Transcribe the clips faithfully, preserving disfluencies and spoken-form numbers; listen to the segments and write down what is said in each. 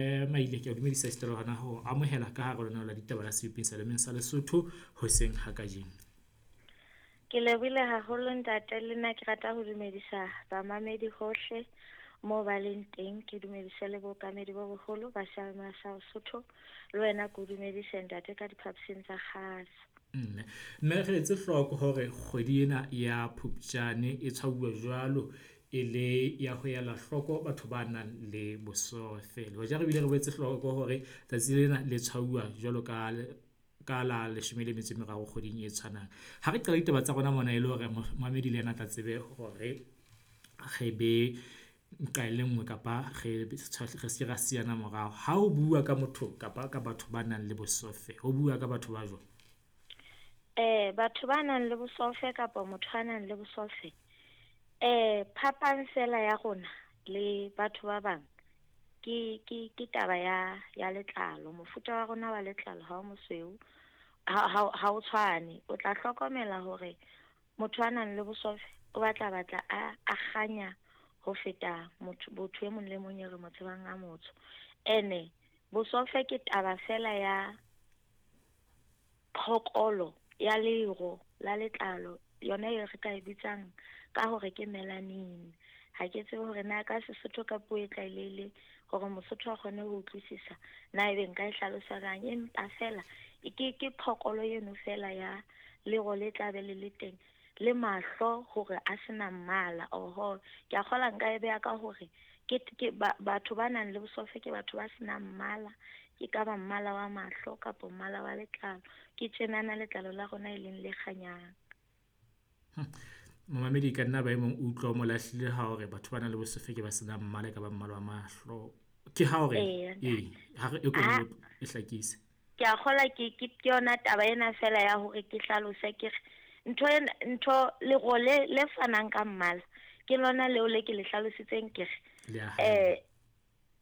Maile, ke a dumedisa esita le hona ho amohela ka hare lenaneo la ditaba la sebopeng sa sa Lesotho hoseng ha kajeno. Ke lebohile haholo ntate, le nna ke rata ho dumedisa bamamedi hohle moo ba leng teng. Ke dumedise le bookamedi bo boholo ba sa Lesotho le wena ke o dumedise ntate ka diphaposing tsa kgaso. Mme mme re etse hloko hore kgwedi ena ya Phupjane e tshwauwa jwalo e le ya ho ela hloko batho ba nang le bosofe. Le hoja re bile re boetse hloko hore tsatsi lena le tshwauwa jwalo ka ka la leshome le metso e meraro kgweding e tshwanang. Ha re qala ditaba tsa rona mona e le hore momamedi le yena a tla tsebe hore re be nqa e le nngwe kapa re re se ra siyana morao. Ha ho bua ka motho kapa ka batho ba nang le bosofe, ho bua ka batho ba jwang? Eh batho ba nang le bosofe kapa motho a nang le bosofe, eh phapang fela ya rona le batho ba bang ke ke ke taba ya ya letlalo. Mofuta wa rona wa letlalo ha o mosweu, ha ha ha o tshwane. O tla hlokomela hore motho a nang le bosofe o batla batla a a kganya ho feta motho motho e mong le mong e re mo tsebang a motsho. Ene bosofe ke taba fela ya phokolo ya lero la letlalo, yona e re ka e bitsang ka hore ke melanin. Ha ke tsebe hore na ka Sesotho ka puo e tlwaelehileng hore Mosotho a kgone ho utlwisisa na ebe nka e hlalosa jwang, empa fela ke ke phokolo eno fela ya lero le tla be le le teng le mahlo hore a sena mmala. Oho, ke a kgolwa nka e beha ka hore ke ke batho ba nang le bosofe ke batho ba senang mmala, ke ka ba mmala wa mahlo kapa mmala wa letlalo. Ke tjenana letlalo la rona e leng le kganyang. Momamedi ka nna ba e mong o utlwa o mo lahlile ha hore batho ba nang le bosofe ke ba senang mmala e ka ba mmala wa mahlo. Ke ha hore Eya ee, ha re e ko e hlakise. Ke a kgolwa ke ke ke yona taba ena fela ya hore ke hlalose ke re ntho ena ntho lero le le fanang ka mmala ke lona leo le ke le hlalositseng ke re Le a hae. eh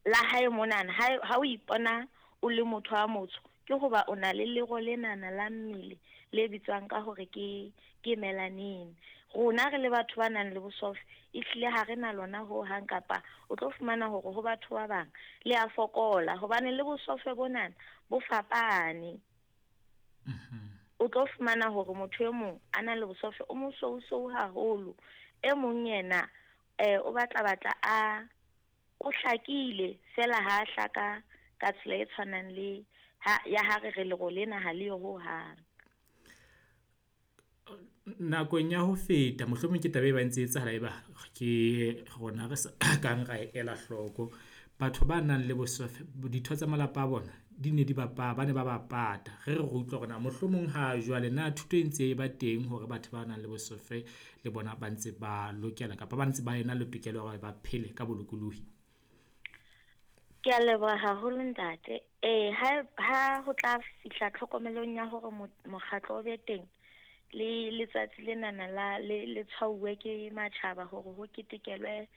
la hae monana ha ha o ipona o le motho a motsho ke hoba o na le lero lenana la mmele le bitswang ka hore ke ke melanin. Rona re le batho ba nang le bosofe ehlile ha re na lona ho hang, kapa o tlo fumana hore ho batho ba bang le a fokola hobane le bosofe bonana bo fapane. O tlo fumana hore motho e mong a na le bosofe o mosousou haholo, e mong yena eh o batla batla a o hlakile fela ha hlaka ka tsela e tshwanang le ha ya ha re re lero lena ha le yo ho hang. Nakong ya ho feta mohlomong ke taba e ba ntse etsahala eba ke rona re sa kang ra ela hloko. Batho ba nang le bosofe ditho tsa malapa a bona di ne di ba ba ne ba ba pata. Re re re utlwa hore na mohlomong ha jwale na thuto e ntse e ba teng hore batho ba nang le bosofe le bona ba ntse ba lokela kapa ba ntse ba ena le tokelo ya hore ba phele ka bolokolohi? Ke a leboha haholo ntate. Eh ha ha ho tla fihla tlhokomelong ya hore mokgatlo o be teng le letsatsi lenana la le le tshwauwe ke matjhaba hore ho ketekelwe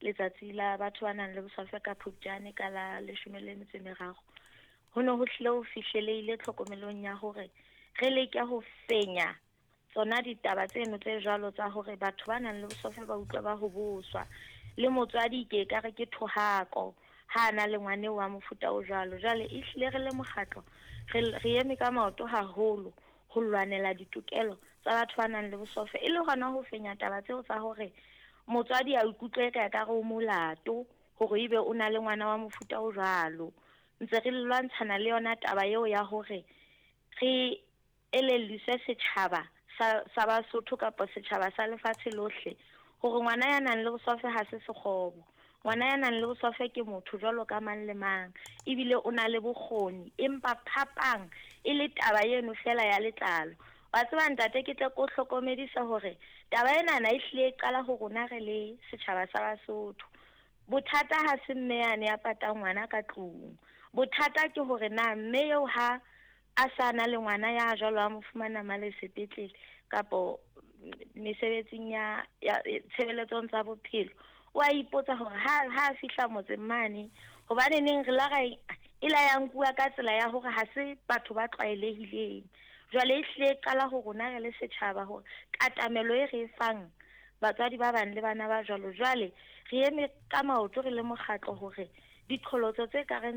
letsatsi la batho ba nang le bosofe ka Phupjane ka la leshome le metso e meraro. Ho ne ho hlile ho fihleleile tlhokomelong ya hore re leke ho fenya tsona ditaba tseno tse jwalo tsa hore batho ba nang le bosofe ba utlwa ba hoboswa. Le motswadi ke ekare ke thohako ha na le ngwane wa mofuta o jwalo. Jwale ehlile re le mokgatlo re re eme ka maoto haholo ho lwanela ditokelo tsa batho ba nang le bosofe, e le hona ho fenya taba tseo tsa hore motswadi a ikutlwe ka ekare o molato hore ebe o na le ngwana wa mofuta o jwalo. Ntse re lwantshana le yona taba eo ya hore re elelliswe setjhaba sa sa Basotho kapa setjhaba sa lefatshe lohle hore ngwana ya nang le bosofe ha se sekgobo. Ngwana ya nang le bosofe ke motho jwalo ka mang le mang, ebile o na le bokgoni, empa phapang e le taba eno fela ya letlalo. Wa tseba ntate, ke tle ke o hlokomedisa hore taba enana ehlile e qala ho rona re le setjhaba sa Basotho. Bothata ha se mme yane ya patang ngwana ka tlung. Bothata ke hore na mme eo ha a sa na le ngwana ya jwalo a mo fumana mane sepetlele kapo mesebetsing ya ya tshebeletsong tsa bophelo, o a ipotsa hore ha ha fihla motseng mane hobane neng re la ra e la ya nkuwa ka tsela ya hore ha se batho ba tlwaelehileng. Jwale ehlile e qala ho rona re le setjhaba hore katamelo e re e fang batswadi ba bang le bana ba jwalo. Jwale re eme ka maoto re le mokgatlo hore diqholotso tse kareng